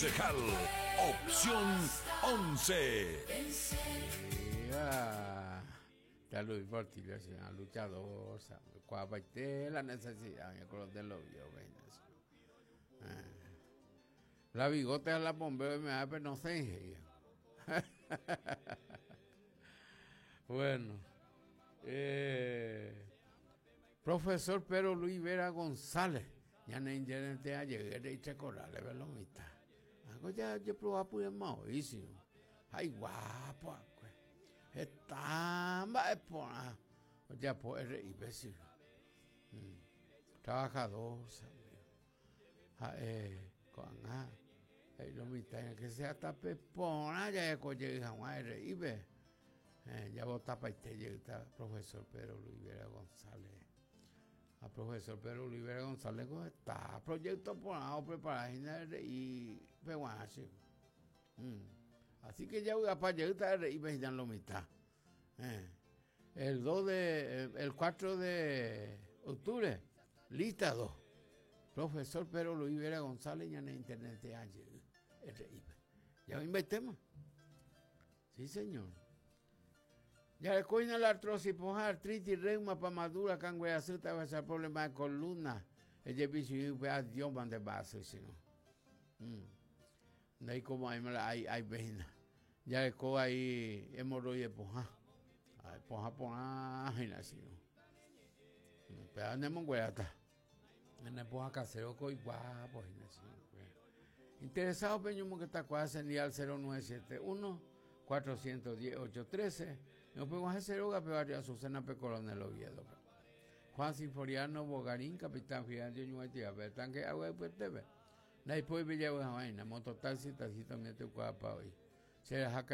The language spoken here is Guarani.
Concejal, opción 11. Ya Luis Portillo es una luchador, sabe, la necesidad, yo creo de lo vio, eh. La bigote a la bombeo y me da, pero no sé. Bueno, eh, profesor Pedro Luis Vera González, ñane ingerente ajeguére ichekorale ve lo mitã. Ako ja jeproba pyema oĩsio. Ha iguápo akue. Heta mba'e porã ojapo RI-pe sy. Mm. Trabajador, ha'e ko'ág̃a he'i lo mitã que sea tape porã jaheko jey hag̃ua RI-pe. Eh, javotapaite jeýta profesor Pedro Luis Vera González. Ha profesor Pedro Luis Vera González ko heta proyecto porã oprepara hína RI peguarã che. Mm. Así que javy'apa jeýta RI pe hína lo mitã. Eh. El 2 de, el 4 de octubre, lista 2. Profesor Pedro Luis Vera González ñane internet jey RI pe. Ya oĩmbaitéma. Sí, señor. Jareko hína la artrosis, pohã, artritis, reuma, pamadura, kangue asy, tavacha, problema de columna, ejepichyry upe adióma nde mba'asy chirũ. Mm. Ndaikomo'ãima la ai aipe hína. Jareko vai hemorroide pohã. Ai, pohã porã hína chirũ. Upéva nemongueráta. Ñane pohã casero ko iguápo hína chirũ. Interesado pe ñomongetakuaa che ndive al 0971 410 813 ñopeg̃uahẽ che rógape barrio Azucena pe Coronel Oviedo-pe. Juan Sinforiano Bogarín, capitán Fidencio ñuguaitihápe, tanque agua ypyetépe. Ndaipói pe javy hag̃ua hína, mototaxi, taxista umi atykuaapa oĩ. Che raha.